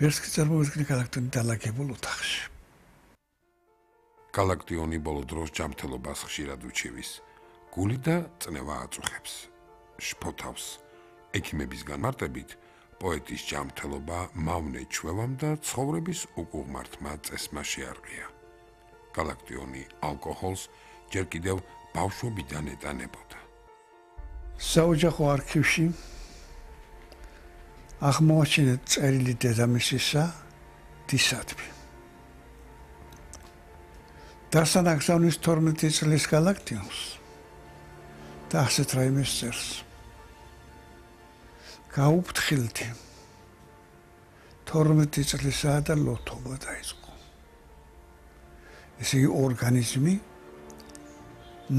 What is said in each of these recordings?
ვერც კი წარმოიდგინე გალაქტიონი დალაგებულ ოთახში. გალაქტიონი ბოლო დროს ჯანმრთელობას ხშირად უჩივის. გული და წნევა აწუხებს. შფოთავს. ექიმების განმარტებით, პოეტის ჯანმრთელობა მავნე ჩვევამ და ცხოვრების უკუღმართმა წესმა შეარყია. გალაქტიონი ალკოჰოლს ჯერ კიდევ ბავშვობიდან ეტანებოდა. საოჯახო არქივში აღმოაჩინეთ წერილი დედამისისა დისადმი. დასთან აგზავნის 12 წლის გალაქტიონს და ასეთ რაიმეს წერს. გაუფრთხილდი 12 წლისაა და ლოთობა დაიწყო. ესე იგი ორგანიზმი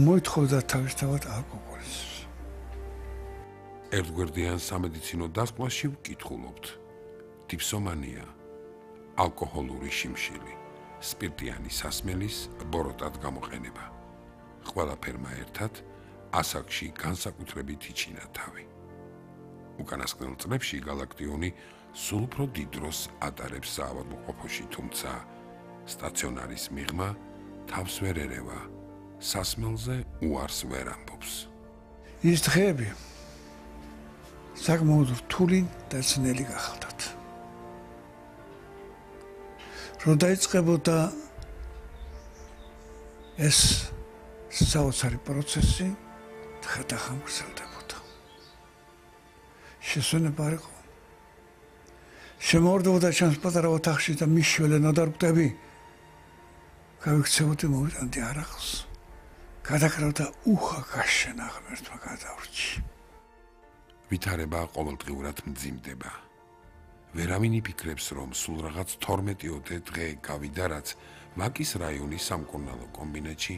მოითხოვდა თავისთავად ალკოჰოლის. ერთგვერდიან სამედიცინო დასკვნაში ვკითხულობთ. დიფსომანია, ალკოჰოლური შიმშილი, სპირტიანი სასმელის ბოროტად გამოყენება. ყველაფერმა ერთად ასაკში განსაკუთრებით იჩინა თავი. უკანასკნელ წლებში გალაქტიონი სულ უფრო დიდ დროს ატარებს საავადმყოფოში, თუმცა სტაციონარის მიღმა თავს ვერ ერევა, სასმელზე უარს ვერ ამბობს. ის დღეები საკმაოდ რთული და ძნელი გახალდათ. რომ დაიწყებოდა ეს საოცარი პროცესი, ხეთახა მგრძელდებოდა. შესვენება არ იყო. შემოვარდებოდა ჩემს პატარა ოთახში და მიშველე ნოდარბდები. გავიქცეოდი მოვიტანდი არაღს. გადაკრავდა უხა გაშენა ღმერთმა გადავრჩი. ვითარება ყოველდღიურად მძიმდება. ვერავინ იფიქრებს, რომ სულ რაღაც 12-ოდე დღე გავიდა, რაც ვაკის რაიონის სამკურნალო კომბინატში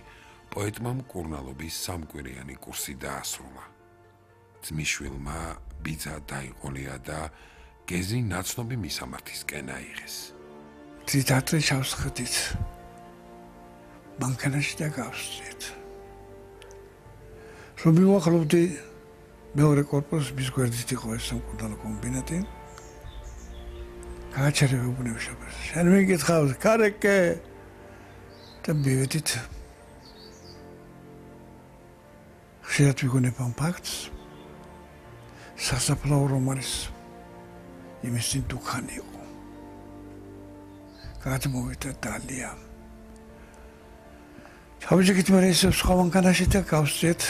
პოეტმა მკურნალობის სამკვირიანი კურსი დაასრულა. ძმისშვილმა ბიძა დაიყოლია და გეზი ნაცნობი მისამართისკენ აიღეს. თითათრი ჩავსხდით. მანქანაში და გავსწრით. რომ მივახლობდი მეორე კორპუსს, მის გვერდით იყო ეს სამკურნალო კომბინატი. გააჩერებე უბნევშობას. შენ მიგითხავს, კარეკე და მივედით. ხშირად ვიგონებამ ფაქტს. სასაფლაო რომანის იმისი დუქანი იყო. გადმოვიდა დალია. ჩავიჭიქით მე ეს სხვა მანქანაში და გავსწრით.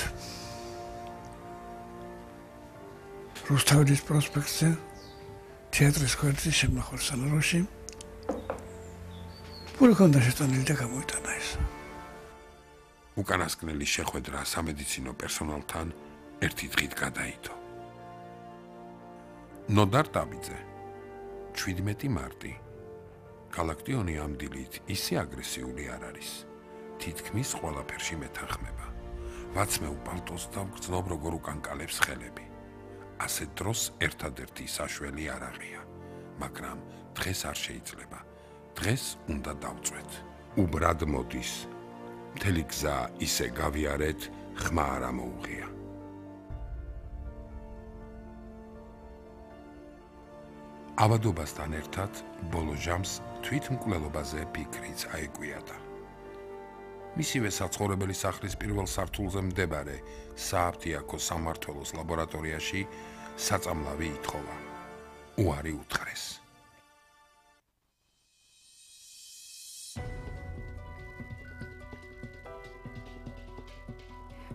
რუსთაველის პროსპექტზე თეატრის გვერდზე შემნახვალ სალონში პური ჰქონდა შეტანილი და გამოიტანა ეს. უკანასკნელი შეხვედრა სამედიცინო პერსონალთან ერთი დღით გადაიდო. ნოდარ დაბიძე 17 მარტი. გალაქტიონი ამ დილით ისე აგრესიული არ არის. თითქმის ყველაფერში მეთანხმება. ვაცმევ პალტოს და ვგრძნობ როგორ უკანკალებს ხელები. ასეთ დროს ერთადერთი საშველი არ აღია, მაგრამ დღეს არ შეიძლება. დღეს უნდა დავწვეთ. უბრად მოდის. მთელი გზა ისე გავიარეთ, ხმა არ ამოუღია. ავადობასთან ერთად ბოლო ჟამს თვითმკვლელობაზე ფიქრიც აეკვიადა. მისივე საცხოვრებელი სახლის პირველ სართულზე მდებარე სააფთიაქო სამმართველოს ლაბორატორიაში საწამლავი ითხოვა. უარი უთხრეს.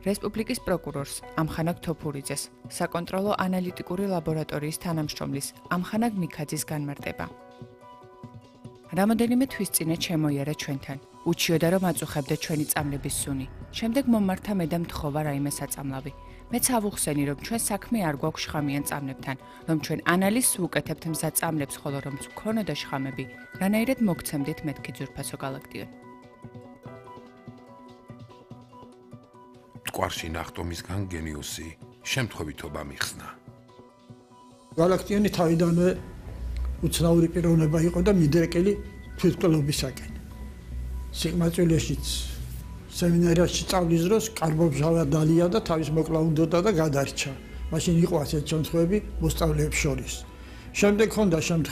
რესპუბლიკის პროკურორს ამხანაგ თოფურიძეს, საკონტროლო ანალიტიკური ლაბორატორიის თანამშრომლის ამხანაგ მიქაძის განმარტება. რამოდენიმე თვის წინე შემოიარა ჩვენთან. უჩიოდა რომ აწუხებდა ჩვენი წამლების სუნი. შემდეგ მომმართა მე და მთხოვა რაიმე საწამლავი. მეც ავუხსენი რომ ჩვენ საქმე არ გვაქვს შხამიან წამლებთან, რომ ჩვენ ანალიზს ვუკეთებთ მზა წამლებს, ხოლო რომ გქონოდა შხამები, რანაირად მოგცემდით მეთქი ძვირფასო გალაქტიონ. მტკვარში ნახტომისგან გენიოსი შემთხვევითობა მიხსნა. გალაქტიონი თავიდანვე უცნაური პიროვნება იყო და მიდრეკილი თვითმკვლელობისაკენ. სიღმაწვილეშიც სემინარიაში სწავლის დროს კარბობჟალა დალია და თავის მოკლა უნდოდა და გადარჩა. მაშინ იყო ასეთ შემთხვევები მოსწავლეებს შორის. შემდეგ ჰქონდა შემთხვევა